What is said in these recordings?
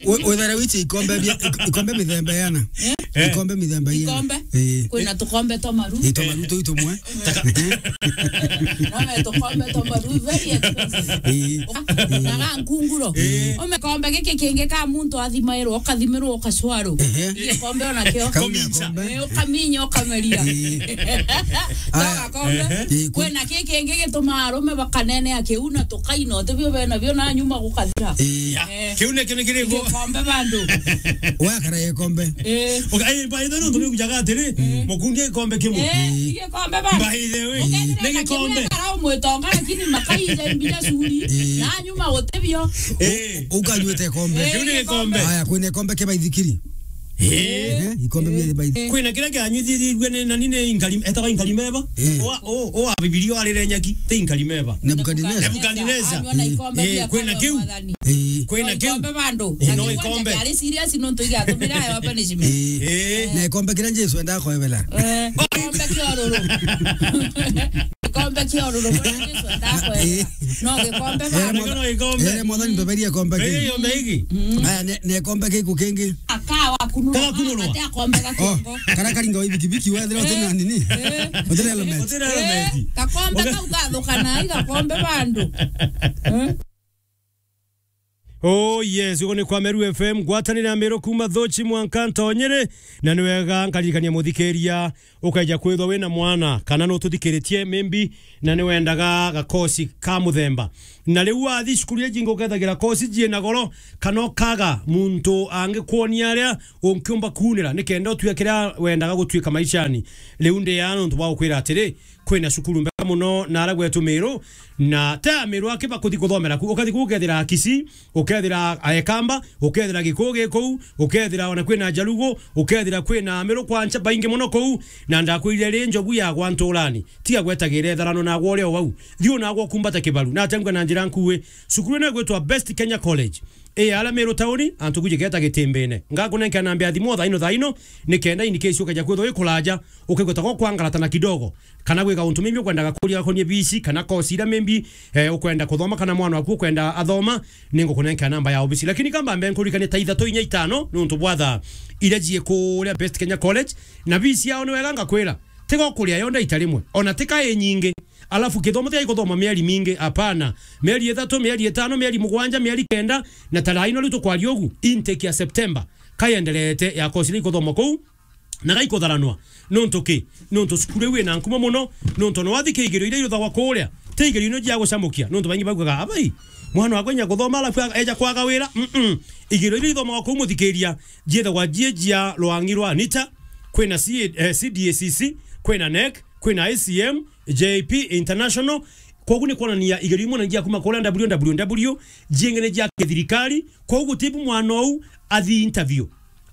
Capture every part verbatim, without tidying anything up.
We-, wethera wichi ikombe bia-, ik-, ikombe mithemba yana. Eh? Ikombe mithemba yana. Ikombe? Eh. Kwina tukombe twa maru. Ito maru tu itumwe. No me tukombe twa maru, very expensive. Eh. Na ga nkunguro. Eh. Ume kombe giki kingi ka muntu athimairwo, ukathimirwo, ukacwarwo. Ehe. Ikombe ona kio. Kau ni kombe. Eh, ukaminya, ukameria. Eh. Aya. Gakombe. Ehe. Eh, ku- Kwina ki kingi gitumaa arume bakanenea kiu na tukaina, utibio bena bio na nyuma gukathira. Eh. Eh. Kiu nikio ni kiriku? Gikombe bandu. Wakara gikombe. Eh. Okay, ai, by the way, nontu nikujaga atiri, mukundia gikombe kimwe. Eh, gikombe bandu. By the way, ni gikombe. Ukethira na kiu umwitonga, lakini makaija mbia curi, eh, na nyuma utibio. Eh. Ukanywete gikombe. Eh, kiu ni gikombe. Aya, kwina gikombe kia baithikiri. Eh. Eh, ikombe bia baithikiri. Kwina kiria kianyithithirue ni, na nini, inkari-, etagwa inkarimeba? Eh. Owa, o, owa Bibilia arire nyaki, ti inkarimeba. Nebukadineza. Nebukadineza. Anyua na ikombe, eh, bia kwina kiu. Mwathani. Eh. Kwina kiu. Ikombe bandu. Eh, no ikombe. Ari serious nontu igatumira ayo punishment. Eh. Eh. Na ikombe kiria Jesu endaga kwebela. Eh, ikombe kia ururu. Ikombe kia ururu, bwana Jesu endaga kwebela. Eh. No gikombe bandu. Ere mwathani, mbeberia ikombe ki. Ere ikombe iki. Mm. Aya, ne, ne ikombe kiku kingi. Aka wakunurwa. Kagakunurwa. Ate akombe ga kiongo. Oh, kara karinga wa bikibiki wethira utina nini? Eh. Utina helmet. Utina helmet. Eh, gakombe kau gathukana, igakombe bandu. Eh? Oh yes, ugo ni kwa Meru F M, ngwatanire na Meru kuma Thochi mwanka Ntonyere, na ni wega nkaririkania muthikiria, ukaija kwithwa wina mwana, kana nututhikiritie maybe, na ni wendaga gakosi ka muthemba. Na riu wathi cukuru iji ingi ukethagira kosi ciina goro, kana ukaga muntu angikwonia aria unkiumba kuunira, nikenda utue kiria wendaga gutuika maishani. Riu ndi aa nontu bwa gukwira atiri, kwina cukuru mbega muno na aria gwetu Miru, na ti a Miru aki bakuthi kuthomera ku. Ukathi ku ukethira Kisii, ukethira Aekamba, ukethira Gikuyu gi kuu, ukethira ona kwina Jalugu, ukethira kwina Miru kwancha baingi muno kuu, na ndakwirire ri njogu yagwa nturani. Tiga gwetagire itharano nagwa uri o wau. Thiu nagwa ukumbate kibaru. Na atengwe na njira nkui. Cukuru ino igwitwa Best Kenya College. Ii, aria Miru tauni, antu kuji geta Gitimbine. Ngakunenkera namba ya thimu o thaino thaino, nikenda in case ukeja kwithwa wi kuraja, ukaigua ta gukwangaratana kidogo. Kana gwika untu maybe ukwendaga kuria gakonie bici, kana kosi iria maybe, eh, ukwenda kuthoma, kana mwana waku ukwenda athoma, ningukunenkera namba ya obisi. Lakini kamba mbe nkurikanie ta ithatu inya itano, nontu bwa thaa iria cii kuria Best Kenya College, na bici yao ni wega ngakwira, tiga ukuria yo ndaita rimwe, ona tika inyingi. Alafu kithomo tiga ikuthoma mieri mingi, apana. Mieri ithatu, mieri itano, mieri mugwanja, mieri kenda, na tarai no riu tukwaria ugu, intake ya September, kaienderete ya kosi iria ikuthoma kuu, na gaikutharanwa. Nontu ki? Nontu cukuru iu ina nkuma muno, nontu no wathi kigerio iria iruthagwa kuria, ti igerio ino cia gucamukia, nontu baingi baugaga, "Abai, mwana wakwa inya kuthoma alafu aga-, eja kwaga wira." Mm-mm. Igerio iria ithomagwa kuu muthikiria, ciithagwa cie cia rwangi rwa nita, kwina C-, eh, C D A C C, kwina NEC, kwina I C M, J P International. Kwogu ni kwonania igerio imwe ni cia kuma kuria W W W, jingi ni cia kithirikari. Kwogu gutibu mwana ou athi interview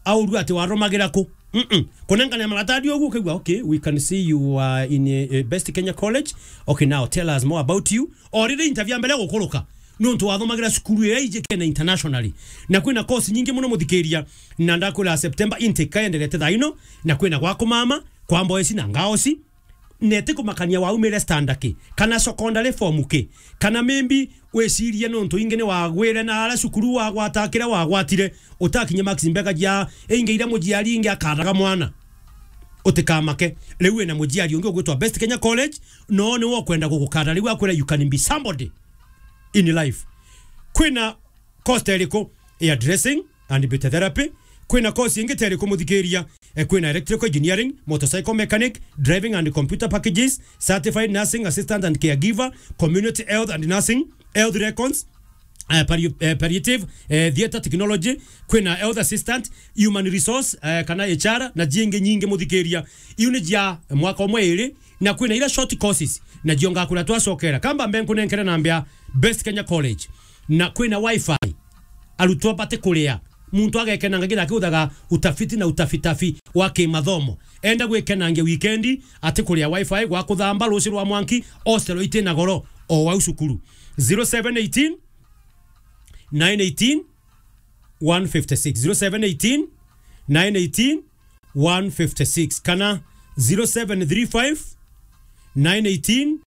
aurua ati waromagira ku. Mm-mm. Kunengania maratadi ogu ukaigua, "Okay, we can see you are in a, a Best Kenya College. Okay, now tell us more about you." O riri interview ya mbere gukuruka, nontu wathomagira cukuru iria iji kena internationally. Na kwina course nyingi muno muthikiria, na ndakwira September intake kaenderete thaa ino, na kwina gwa kumama, kwa boys na girls. Neti kumakania waumire standard ki, kana secondary form ki, kana maybe wicirie nontu ingi ni wagwire na ara cukuru wagwata kiria wagwatire, utakinye marks mbega cia ingi iria muciari ingi akaraga mwana. Utikamake. Riu wina muciari ungi ugwitwa Best Kenya College, no ni wo kwenda gugukara. Riu akwira you can be somebody in life. Kwina course ta iriku? Hairdressing and beauty therapy. Kwina course ingi ta iriku muthikiria? Eh, kwina electrical engineering, motorcycle mechanic, driving and computer packages, certified nursing assistant and caregiver, community health and nursing, health records, eh, palli-, eh, palliative, eh, theatre technology, kwina health assistant, human resource, eh, kana H R, na jingi nyingi muthikiria. Iu ni cia mwaka umwe iri, na kwina ira short courses, na cio ngakwira twacokera. Kamba mbe nkunenkere namba ya Best Kenya College, na kwina wifi. Arutwo bati kuria. Muntu agekenanga kithira akiuthaga utafiti na utafitafi wa kimathomo. Enda gwikenangia wikendi, ati kuria wifi, gwa kuthamba, ruci rwa mwanki, hostel iti na goro, o wau cukuru. Zero seven eighteen, nine eighteen, one fifty-six. Zero seven eighteen, nine eighteen, one fifty-six, kana zero seven three five, nine eighteen,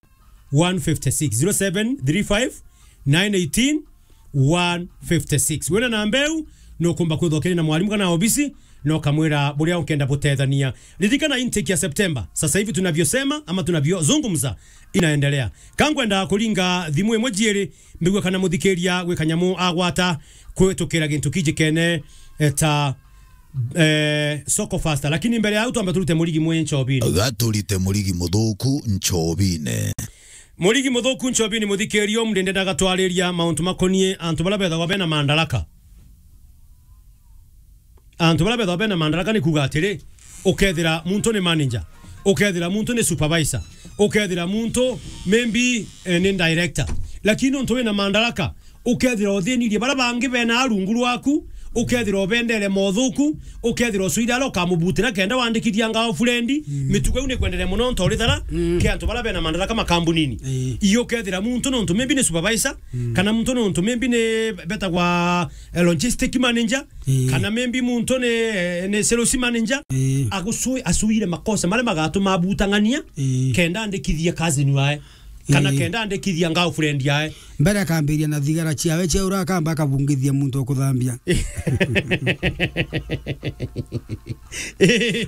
one fifty-six. Zero seven three five, nine eighteen, one fifty six. Wina namba iu, nukumba kwithwa ukiri na mwalimu kana obisi, na ukamwira buria ukenda butethania. Ririkana intake ya September, sasa hivi tunavyosema ama tunavyozungumza, inaendelea. Ka nkwenda kuringa thimu imwe jiiri, mbigua kana muthikiria gwi kanyamu agwata kwitukira gintu kijikene, eh, ta, eh, soko faster. Lakini mbere ya au twambe turute murigi mwe nchobini. Gaturite murigi muthuku nchobine. Murigi muthuku nchobini, muthikiria, umunthi ndenda gatwariria mauntu makonie antu baria bethagwa bena mandaraka. Antu baria bethagwa bena mandaraka ni kuuga atiri, ukethira muntu ni manager, ukethira muntu ni supervisor, ukethira muntu maybe, eh, ni director. Lakini nontu wina mandaraka, ukethira uthinirie baria bangi bena arungu rwaku, ukethira ubendere mothuku, ukethira ucuire aria ukamubutira kenda wandikithia ngao furendi, mitugo iu ni kwenderea mono nto urithara, ke antu baria bena mandaraka makambunini. Ii. Iyo ukethira muntu nontu maybe ni supervisor, kana muntu nontu maybe ni betagwa, eh, logistic manager, ii, kana maybe muntu ni, eh, ni sales manager, ii, agucui-, acuire makosa maria magatuma abutang'ania, ii, kenda andikithia cousin wae, kana, ii, kenda andikithia girlfriend yae. Mbere akambiria na thigara ciawe cia ura akamba akabungithia muntu ukuthambia.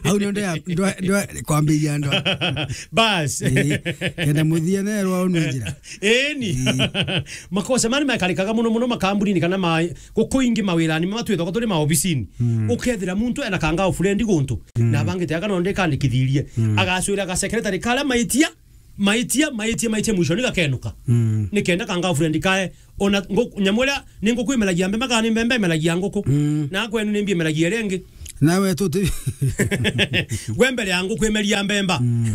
Au ndio ndio, ndio, ndio kwambiria ndo. Bas. Ii, kenda muthia nerwa unu njira. Eni. Ii. Makosa mani makarikaga muno muno makambunini kana ma-, guku ingi mawirani matwithagwa turi maobisini. Mm. Ukethira muntu ena ka girlfriend guntu, mm, na abangite aga no ndikandikithirie. Mm. Agacwira ga secretary karia maitia, maitia, maitia, maitia, mwisho ni gakenuka. Mm. Ni kenda ka girlfriend kae, ona ngu-, nyamu iria ni nguku imeragia mbemba kana ni mbemba imeragia nguku. Mm. Na kwenu ni mbi imeragia iria ingi. Nawe tuti- we mbere ya nguku imeria mbemba. Mm.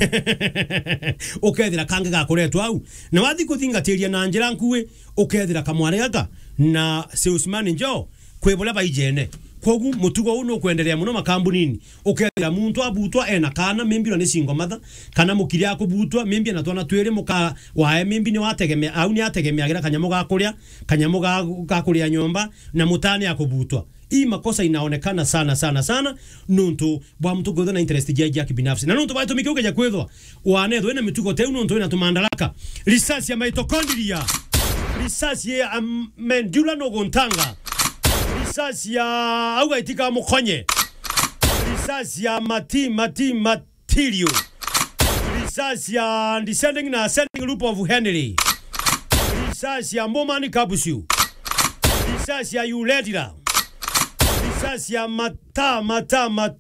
Ukethira kangi gakuretwa au. Na wathi kuthingatiria na njira nkui, ukethira kamwari gaka na salesman njo kwi buria baijene. Kwogu mutugo uu nukwenderea muno makambunini. Ukethira muntu abutwa ena kaana, maybe ona ni single mother, kana mukiri akubutwa, maybe ena twana twiri, muka wae maybe ni wategemea, au ni ategemeagira kanyamu ga kuria, kanyamu ga, ga kuria nyomba, na mutani akubutwa. Hii makosa inaonekana sana, sana, sana, nuntu bwa muntu kwithwa na interest jia, jia kibinafsi. Na nuntu bwa gitumi kiu keja kwithwa, wanethwa wina mitugo teu nuntu wina tumandaraka. Risasi ya mitochondria. Risasi ya, um, medulla nuguntanga. Risasi ya au gaitika mukonye. Risasi ya mati, mati, matirio. Risasi ya descending na ascending loop of Henry. Risasi ya Bowman capsule. Risasi ya uretra. Risasi ya mata, mata, mata.